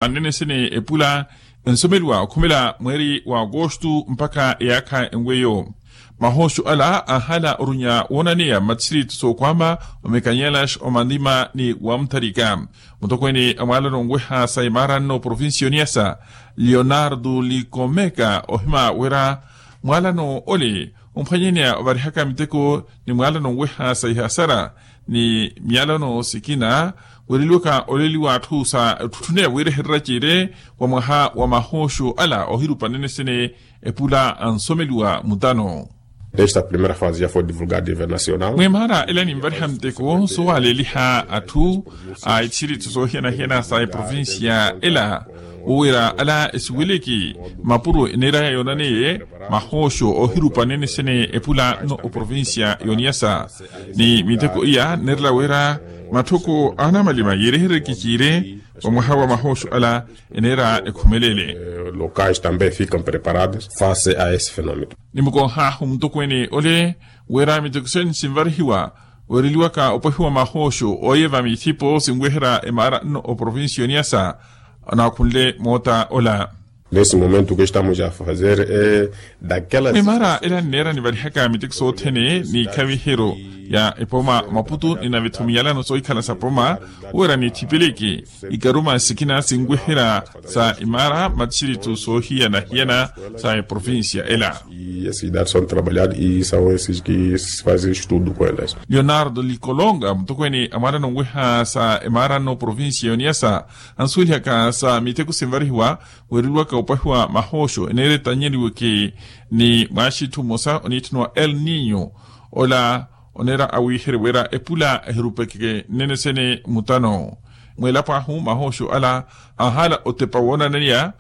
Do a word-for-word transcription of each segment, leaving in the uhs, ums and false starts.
Anene sene epula ensomeliwa okhumela mweeri wa agosto mpakha eyaakha enweyo. Mahooxo ala anhala orunya woonaneya mmatthiritu sookwama, omekanyelax omanima ni wamutharika. Mutokweene a mwaalano onweha sa imaara nno provincia yoniyasa, leonardo likomeka ohima wira mwaalano ole omphwanyeneya ovarihaka miteko ni mwaalano onweha sa ihasara ni myalano sikina, wereliwaka oleliwa atthu sa etthutthuneya wiirehererya ciire wa mwaha wa mahooxo ala ohirupa nenesene epula ansomeliwa mutano. Esta primeira fase já foi divulgada a nível nacional. Mwimaara ela ninvariha miteko soowaleeliha atthu a itthiritu soohiyana-hiyana sa eprovincia ela, wowira ala esiweleke mapuro eneeraya yoonaneye mahooxo ohirupa nenesene epula nno oprovincia yoniyasa. Ni miteko iya neerela wira matthoko a anamalima yeereherereke ciire wa mwaha wa mahooxo ala eneera ekhumelele. Locais também ficam preparados face a esse fenômeno. Nimukohaahu mutokweene ole wira miteko sene sinvarihiwa weereliwaka opwehiwa mahooxo oye va mithipo sinweherya emaara nno oprovincia yoniyasa. Anaakhunle moota ola. Nesse momento que estamos a fazer é daquelas. Mwimaara ela nneera nivarihaka miteko sothene ni ikhaviheryo ya epoma maputu ni navetho miyalano soohikhala sa poma, wira nithipeleke ikaruma sikina sinweherya sa imaara mmatthiritu soohiyana-hiyana sa eprovincia ela. E esses dados são trabalhados e são esses que se fazem estudo com elas. Leonardo likolonga mutokweene a mwaalano onweha sa emaara nno provincia yoniyasa, ansuwelihaka sa miteko sinvarihiwa weereliwaka opwahiwa mahooxo eneera etanyeliweke ni mwaaxitthu mmosa oniitthaniwa el ninho. Ola oneera awiiherye wira epula ehirupeke nnenesene mutano. Mweelapo ahu mahooxo ala anhala otepa woonaneya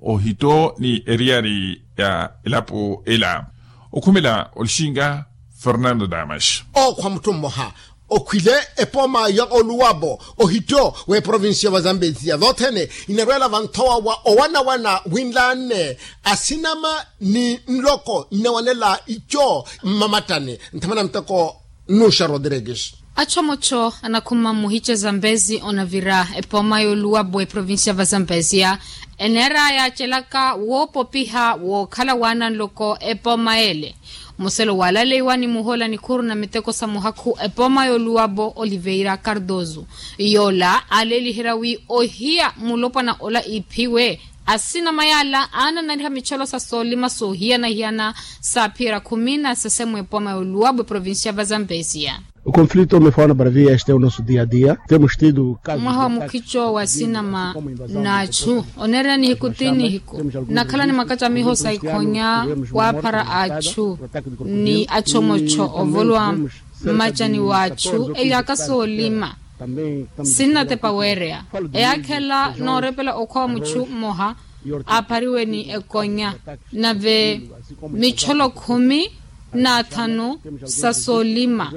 ohitto ni eriyari ya elapo ela. Okhumela olixinga fernando damas. Ookhwa mutthu mmoha okhwile epoma ya oluwapo ohitto w'eprovincia wa zambezia vothene inarweela vanthowa wa owanawana winlanne asinama ni nloko nnawanela ico mmamattani nthamana muteko. Nuxa rodrigues. Achomocho anakhuma mmuhice zambezi onavira epoma y'oluwapo eprovincia va zambezia eneera yaacelaka woopopiha wookhala waana nloko epoma ele. Muselo waalaleiwa ni muhoola nikhuru na miteko sa muhakhu epoma y'oluwapo oliveira cardoso, yoola aaleeliherya wi ohiya mulopwana ola iiphiwe. Asinama yaala aananariha micholo sa soolima soohiyana-hiyana saaphiyerya khumi na sese mw'epoma y'oluwapo eprovincia va zambezia. O conflito me fala para via este é o nosso dia a dia temos tido mwaha wa mukhico wa sinama n'achu oneerya nihiku ti nihiku nnakhala ni makacamiho sa ikhonya waaphara achu ni achomocho ovolowa mmacani w'achu eyaaka soolima sinnatepa weereya. Eyaakhela noorepela okhwa wa muchu mmoha aaphariwe ni ekonya nave micholo khumi na thanu sa soolima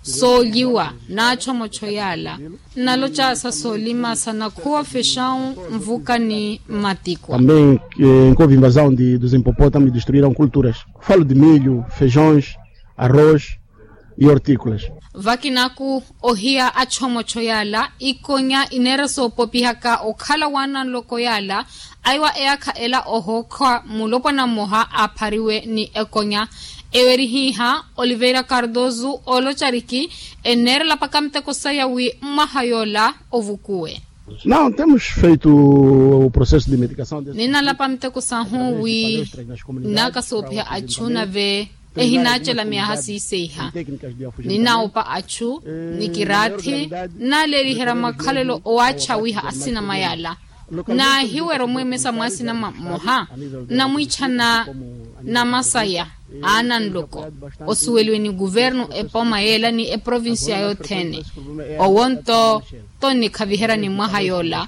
soolyiwa n'achomocho yaala nnaloca sa soolima sa nakhuwa fexawu nvuka ni mmatikwa. Também encovo invasão de dos hipopótamos destruíram culturas falo de milho feijões arroz e hortícolas. Vakinaku ohiya achomocho yaala ikonya ineera soopopihaka okhala waana nloko yaala aiwa eyaakha ela ohookhwa mulopwana mmoha aaphariwe ni ekonya. Ewerihiha oliveira cardoso oolocariki eneerela paka miteko saya wi mmaha yoola ovukuwe. Não temos feito o processo de medicação ninalapa miteko sahu wi nnaakasoopiha achu nave ehinacela miyaha siiseiha. Ninaupa achu ni kiraathi nnaleliherya makhalelo owachawiha asinama yala. Nahiwera omwemesa mwasinama mmoha nnamwichana namasaya ananloko osuweliwe ni kuvernu epoma yela ni eprovincia yothene. Owonto tonnikhaviherya ni mwaha yola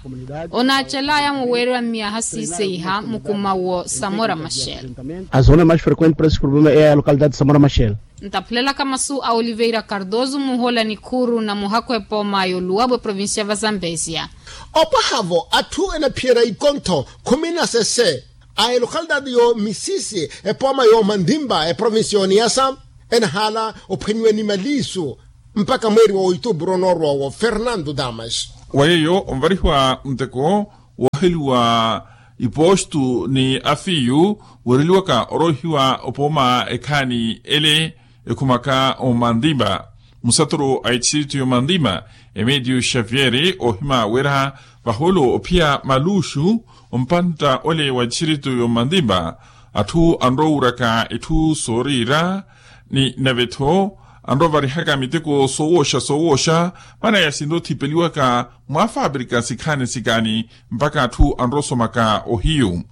onacelaya muweriwa mmiyaha siiseiha mukuma wo samora machel. A zona mais frequente para esses problemas é a localidade de samora machel. Ntaphulelaka masu a oliveira cardoso muhola ni khuru na muhakhu epoma yoluwabu eprovincia va zambezia. Opwahavo atthu enaphiyerya ikontho khumi na sese a elokhalidade yo misisi epoma yo mandimba eprovincia yo niyasa enahala ophwenyiwe ni maliisu mpakha mweeri wa oituupuru onoorwa owo fernando damas. Wa yeeyo onvarihiwa nteko wooheliwa ipostu ni afiyu, weereliwaka oroihiwa opooma ekhaani ele ekhumaka omandipa. Musaturu a etistritu y'omandipa, Emediu xavieri, oohima wira vahoolo ophiya maluxu ompantta ole wa etistritu y'omandipa, atthu anroowuraka itthu sooriira ni nave-tho anrovarihaka miteko soowooxa soowooxa, mana yasinrothipeliwaka mwa faaprika sikhaani sikhaani mpakha atthu anroosomaka ohiyu.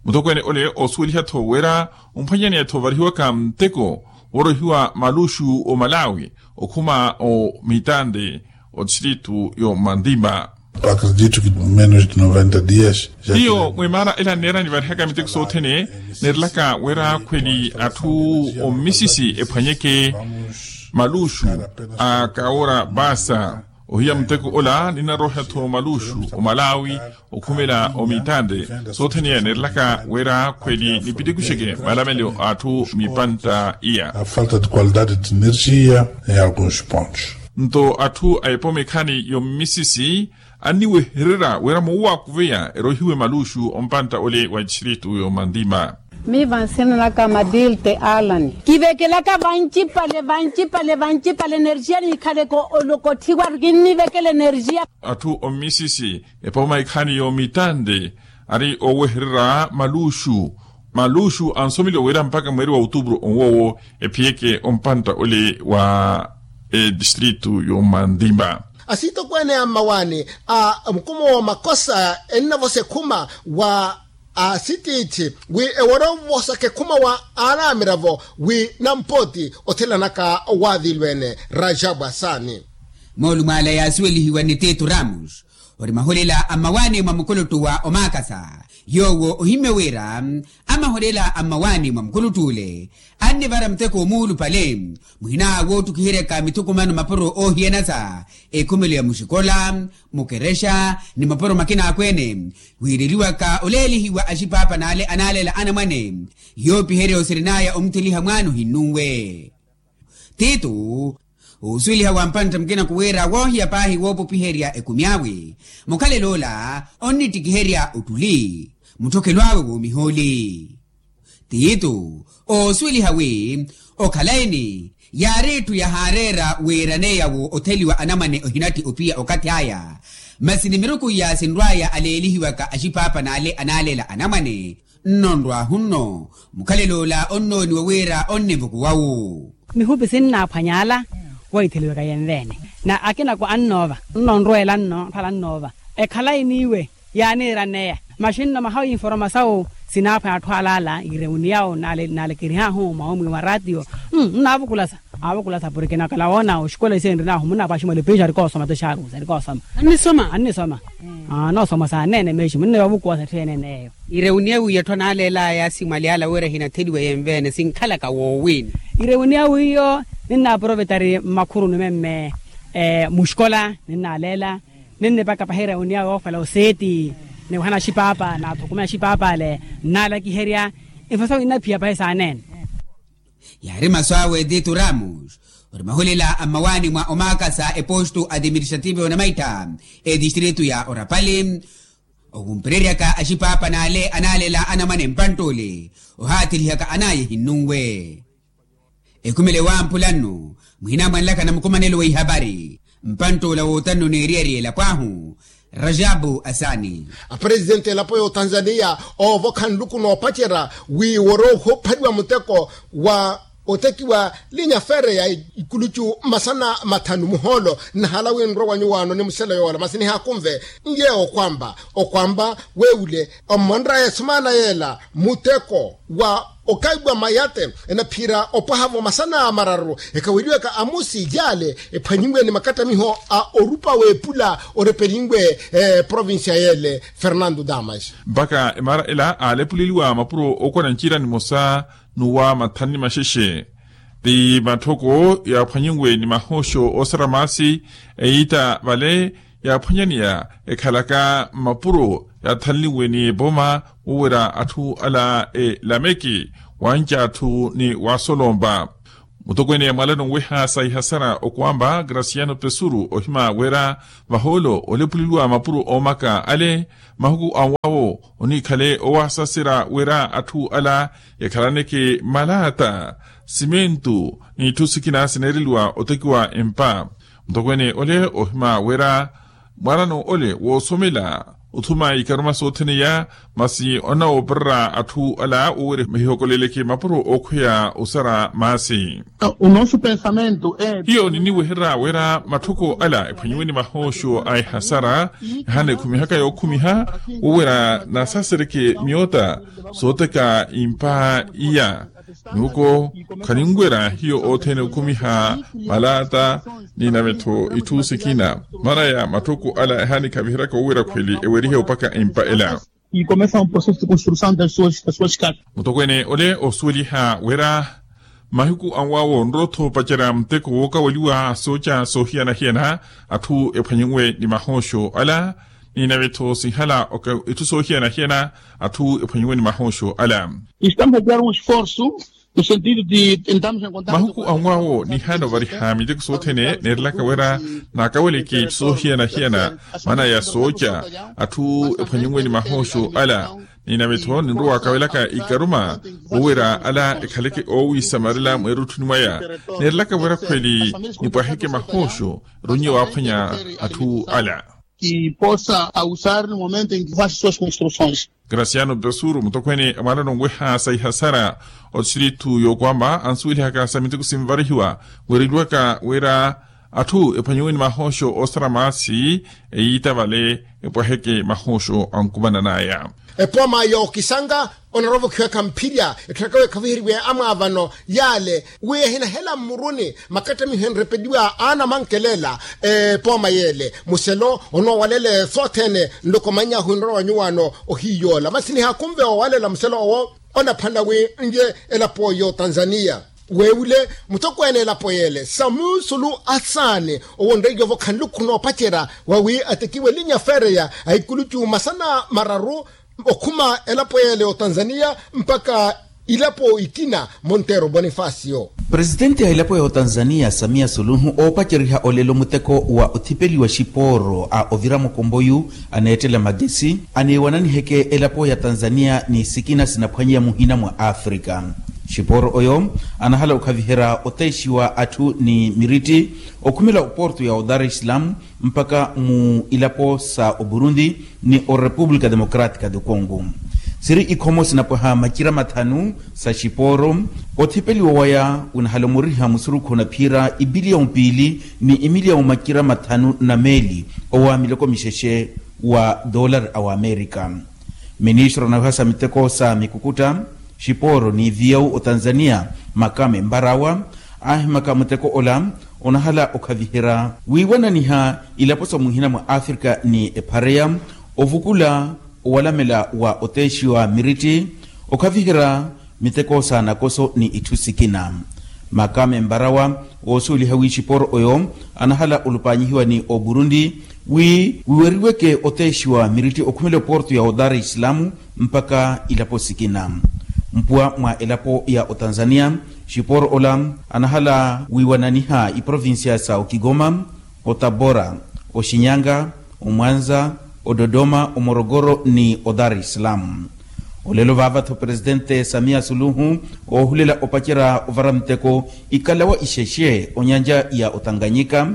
Mutokweene ole oosuweliha-tho wira omphwanyaneya-tho ovarihiwaka muteko woorohiwa maluxu omalawi okhuma omitante otistritu y'omandipa. Acredito que menos de noventa dias. Hiyo mwimaara ela nneera nivarihaka miteko sothene, neerelaka wira khweli atthu ommisisi ephwanyeke maluxu a kaora pasa. Ohiya muteko ola ninnaroha-tho maluxu omalawi okhumela omitante sothene, neerelaka wira khweli nipitikuxeke malamelo a atthu mipantta iya. A falta de qualidade de energia em alguns pontos. Nto atthu a epoma ekhaani y'ommisisi anniwehererya wira moowakuveya erohiwe maluxu ompantta ole wa etistritu y'omandipa. Miiva nsinanaka madilte alani. Kivekelaka vancipale vancipale vancipale energia niikhaleke olokotthiwa. Kinnivekela energia. Atthu ommisisi epoma ekhaani y'omitante ari oowehererya maluxu. Maluxu ansomeliwa wira mpakha mweeri wa outupuru onwoowo ephiyeke ompantta ole wa etistritu y'omandipa. Asitokweene a mmawaani a mukuma wa makosa ennavosa ekhuma wa asitiithi wi ewara ovosaka ekhuma wa aanamiravo wi nampooti othelanaka waavilweene. Rajabu asaani. Moolumo ala yaasuwelihiwa ni tito ramos ori maholela a mmawaani mwa mukuluttu wa omaakasa. Yoowo ohimmye wira amaholela a mmawaani mwa mukuluttu ole annivara muteko omuulupale muhina woottukiheryaka mithukumano mapuro oohiyanasa ekhumelo ya muxikola, mukerexa ni mapuro makina akweene. Wiireliwaka oleelihiwa axipaapa n'ale anaalela anamwane yoopiherya osirin'aya omutheliha mwaana ohinnunwe. Tito oosuweliha wa mpantta mukina kuwira woohiya paahi woopopiherya ekumi awe. Mukhalelo ola onnittikiherya ottuli mutthokelo awe woomihooli. Tito oosuweliha wi okhalayi-ni yaari etthu yahaareera wiiraneya wo otheliwa anamwane ohinatti opiya okathi aya. Masi ni miruku iya sinrw'aya aleelihiwaka axipaapa n'ale anaalela anamwane nno nrw'ahu nno. Mukhalelo ola onnooniwa wira onnivukuwa wu. Mihupi sinnaaphwanya ala woitheliwaka yenveene na akinako annoova nno nrweela nno nrwala nnoova. Ekhalayi n'iwe yaaniiraneya maxi nno mahawu informasawu sinaaphwanya atthu alaala ireuniyawu naalekerihahu mwaumwi wa ratio. Nnaavukulasa aavukulasa porke nakala woona oxikola isiye nrinahu munnapwaxi mwalipiixi arikoosoma tixaarusa arikoosoma. Annisoma annisoma. Anoosoma saaneene meeximu nne vavukuwasa etthu eneeneyo. Ireuniyawu iya atthu anaaleelaya yaasi mwali ala wira hinatheliwe yenveene sinkhalaka woowiini. Ireuniyawu iyo ninnaaprovetari mmakhuruni memme muxikola ninnaaleela ninnipaka pahi ireuniyawu yoofela oseeti niwahana axipaapa naathukumya axipaapa ale nnaalakiherya. Ifosa winnaphiya pahi saaneene. Yaari masu awe tito ramos ori mahulela a mmawaani mwa omaakasa epostu atiministrativo onamaitta etistritu ya orapali. Okumpereryaka axipaapa n'ale anaalela anamwane mpantt'ole ohaathelihaka an'aya ehinnunwe. Ekhumele wamphula nno muhinamwanelaka na mukumanelo wa ihapari mpantt'ola wootanno n'eriyari elapo ahu. Rajabu asaani. Apresidenti elapo y'otanzaniya oovokha nluku noopacerya wi worookhuphaliwa muteko wa otekiwa linya feere ya ikulucu masana mathanu muhoolo. Nnahala wi nrwe wa nyuwaano ni musela yoola masi nihaakunve nyeewo okwamba okwamba weewule ommonraya esumaana yeela muteko wa okaiwa mayate enaphiira opwaha-vo masana mararu ekaweliwaka amusi yaale ephwanyiwe ni makattamiho a orupa w'epula orepelinwe provincia yeele. Fernando damas. Mpakha emaara ela aalepuleliwa mapuro ookona ncira nimosa n'uwa mathanu ni maxexe ti matthoko yaaphwanyiwe ni mahooxo oosara maasi eyiita vale yaaphwanyaneya ekhalaka mmapuro yaathanliwe ni epoma woowera atthu ala elameki wanca atthu ni waasolompa. Mutokweene mwalano nweha sa ihasara okwamba graciano pesuru ohima wira vahoolo olepuleliwa mapuro oomaka ale mahuku anwawo oniikhale owasaserya wira atthu ala ekhalaneke malata simentu n'itthu sikina sineereliwa otekiwa empa. Mutokweene ole ohima wira mwanano ole woosomela othuma ikaruma sothene iya masi onawoopererya atthu ala wowira mahihokoleleke mapuro ookhweya osara maasi. O nosso pensamento é hiyo niniwehererya wira matthoko ala ephwanyiwe ni mahooxo a ehasara ehaana ekhumihaka yookhumiha wowira nasasereke miyoota sooteka impa iya. Nuko khaninwerya hiyo othene okhumiha malata ni navetho itthu sikina mana ya matthoko ala ehaana ekhaviheryaka wowira khweli ewerihe opaka empa ela. E começa um processo de construção das suas das suas casas. Mutokweene ole osuweliha wira mahiku anwawo nrottho opacerya muteko wookaweliwa sooca soohiyana-hiyana atthu ephwanyiwe ni mahooxo ala ni navetho sinhala itthu soohiyana-hiyana atthu ephwanyiwe ni mahooxo ala. Estamos a dar um esforço no sentido de tentarmos encontrar mahuku anwawo nihaana ovariha miteko sothene neerelaka wira naakaweleke itthu soohiyana-hiyana mana ya sooca atthu ephwanyiwe ni mahooxo ala ni navetho ninrowa waakawelaka ikaruma wowira ala ekhaleke oowisamarela mweerutthuni mwaya neerelaka wira khweli nipwaheke mahooxo eronnye waaphwanya atthu ala. Que possa usar no momento em que faz suas construções. Graciano pesuru mutokweene a mwaanano nweha sa ihasara otistritu yookwamba ansuwelihaka sa miteko sinvarihiwa weereliwaka wira atthu ephwanyiwe ni mahooxo oosara maasi eyiita vale epwaheke mahooxo ankumanan'aya. Epooma yookisanga onarwa-ovokhiwaka mphirya etthu aka weekhaviheriwe amwaavano yaale wi ehinahela mmuruni makattamiho enrepeliwa aanamankelela. Epooma yeele muselo onoowalela sothene nloko manyahu enrorowanyuwaano ohiyoola masi nihaakhunve owalela muselo owo onaphana wi nlye elapo y'otanzaniya. Weewule mutokweene elapo yeele samusulu asaani owo nreiyovo khanlukhu noopacerya wawi atekiwe linya fereya a ikulucu masana mararu okhuma elapo yeele y'otanzaniya mpakha ilapo ikina monteero bonifacio. Presitenti a elapo ya otanzaniya samiya suluhu oopaceriha olelo muteko wa othipeliwa xipooro a ovira mukomboyu aneettela magesi aneewananiheke elapo ya tanzaniya ni sikina sinaphwanyiya muhina mwa afrika. Xipooro oyo anahala okhaviherya oteexiwa atthu ni miritti okhumela oporto ya odar islam mpakha mu ilapo sa oburundi ni orepupulika democratika do congo. Siri ikhomo sinapwaha macira mathanu sa xipooro othipeliwa waya winahala omuriha musurukhu na phiira ipiliyawu piili ni imiliyawu macira mathanu na meeli owa miloko mixexe wa dollar a wamerika. Ministro anaweha sa miteko sa mikukutta xipooro ni viyawu otanzaniya makame mbarawa aahimaka muteko ola onahala okhaviherya wiiwananiha ilapo sa muhina mwa afrika ni ephareya ovukula owalamela wa oteexiwa miritti okhaviherya miteko sa nakoso ni itthu sikina. Makame mbarawa woosuweliha wi xipooro oyo anahala olupanyihiwa ni oburundi wi wiweriweke oteexiwa miritti okhumela oporto ya odar islamu mpakha ilapo sikina. Mpuwa mwa elapo ya otanzaniya xipooro ola anahala wiiwananiha iprovincia sa okigoma otabora oxinyanga omwanza ododoma omorogoro ni odar islam. Olelo vaava-tho presitente samiya suluhu oohulela opacerya ovara miteko ikalawa ixexe onyanja ya otanganyika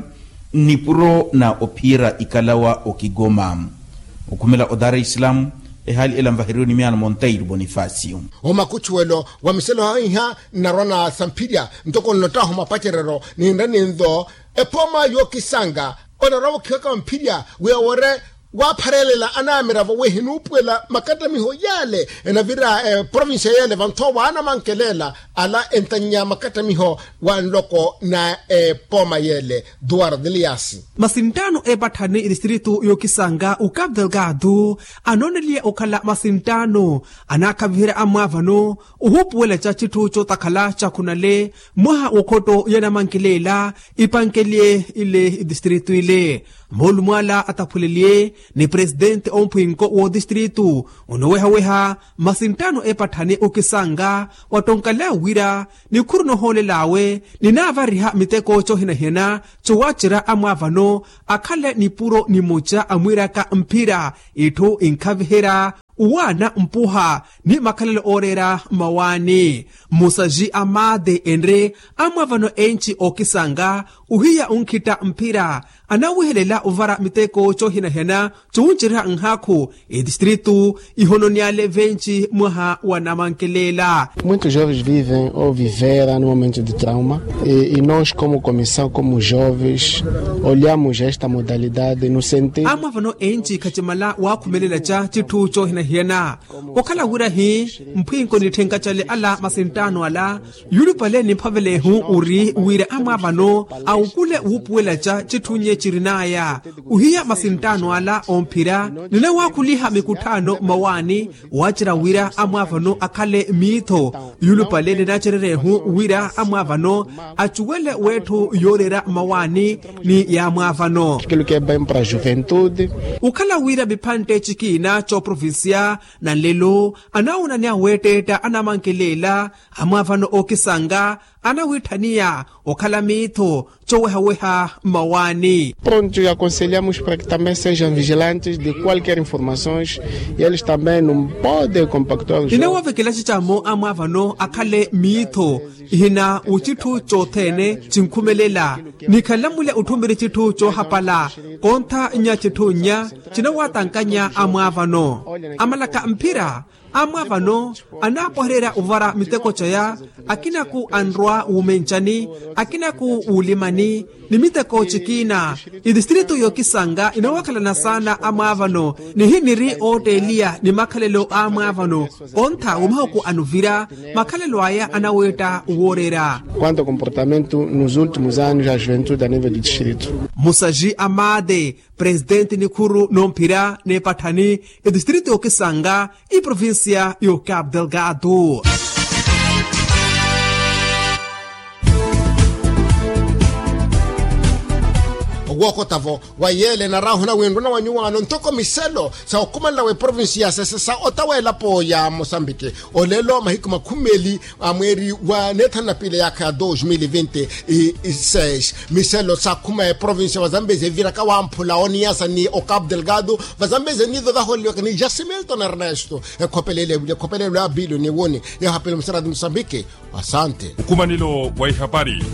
nipuro na ophiira ikalawa okigoma okhumela odar islam. Ehaali ela nvaheriwe ni miyaano monteiro bonifacio. Omakuchuwelo wa miselo haiha nnarwa na samphirya ntoko nnottahu mapacereryo ninre ninzo epooma yookisanga onarwa-ovokhiwaka mphirya wi owere waapharelela anamiravo wi ehinuupuwela makattamiho yaale enavira eprovincia yaale vanthowa anamankelela ala entannya makattamiho wa nloko na epooma yaale. Duwar dilias. Masinttaano eepatthani etistritu yookisanga ukapu delgado anooneliye okhala masinttaano anaakhaviherya amwaavano ohuupuwela ca citthu cootakhala cakhunale mwaha w'okhotto yanamankelela ipankeliye ile etistritu ile moolumo ala ataphuleliye ni presidente omphwinko w'otistritu. Onowehaweha masinttaano epatthani okisanga wattonkalaya wira nikhuru nohoolel'awe ninaavariha miteko cohinahina cowacerya amwaavano akhale nipuro nimoca amwiiraka mphira itthu inkhaviherya uwaana mpuha ni makhalelo ooreera mawaani. Mmusaji a maate enre amwaavano enci okisanga ohiya onkhitta mphira anawihelela ovara miteko cohinahina cowuncerya nhaakhu etistritu ihononiyale venci mwaha wa namankelela. Muitos jovens vivem ou viveram no momento de trauma e nos como comissão como jovens olhamos esta modalidade no sentido. Amwaavano enci khacimala waakhumelela ca citthu cohinahiyana okhala wira hi mphwinko nitthenka cale ala masinttaano ala yulupale nimphavelehu ori wira amwaavano awukule wuupuwela ca citthu nye cirinaya ohiya masinttaano ala omphira ninawakhuliha mikutthaano mmawaani wacerya wira amwaavano akhale miitho yulupale ninacererehu wira amwaavano acuwele w'etthu yooreera mmawaani ni yaamwaavano. Kelo kebem para juventude okhala wira miphantte cikiina coprovincia na nlelo anawonaniya weetteetta anamankelela amwaavano okisanga anawitthaniya okhala miitho cowehaweha mmawaani. Pronto e aconselhamos para que também sejam vigilantes de qualquer informações e eles também não podem compactuar os jovens. Ninawavekela cicamo amwaavano akhale miitho ihina ocitthu cothene cinkhumelela nikhalamule otthumiri citthu cohapala kontha nya citthu nya cinawatankanya amwaavano amalaka mphira amwaavano anaapohererya ovara miteko caya akinaku anrwa wumencani akinaku wulimani ni miteko cikiina itistritu yokisanga inawakhalana saana amwaavano nihiniri ootteeliya ni makhalelo a amwaavano kontha womahuku anuvira makhalelo aya anaweetta wooreera. Quanto ao comportamento nos últimos anos a juventude a nível do distrito. Musaji a maate presidente nikhuru nomphira n'epatthani etistritu y'okisanga iprovincia y'ocapo delgado. Owookota-vo wa yeela enaraahu na winruna wa nyuwaano ntoko miselo sa okhumanela w'eprovincia ya sese sa otawa elapo ya mosambiki. Olelo mahiku makhumi meeli a mweeri wa neethanu na piili yaakha ya dos mil e vinte e seis miselo saakhuma eprovincia va zambezi eviraka wamphula oniyasa ni ocapo delgado va zambezi eniizo vahooleliwaka ni jasimilton ernesto ekhopelele evuli ekhopelelo ya bilio ni woni. Yahapele musarati musambiki. Asante. Ukhumanelo wa ihapari.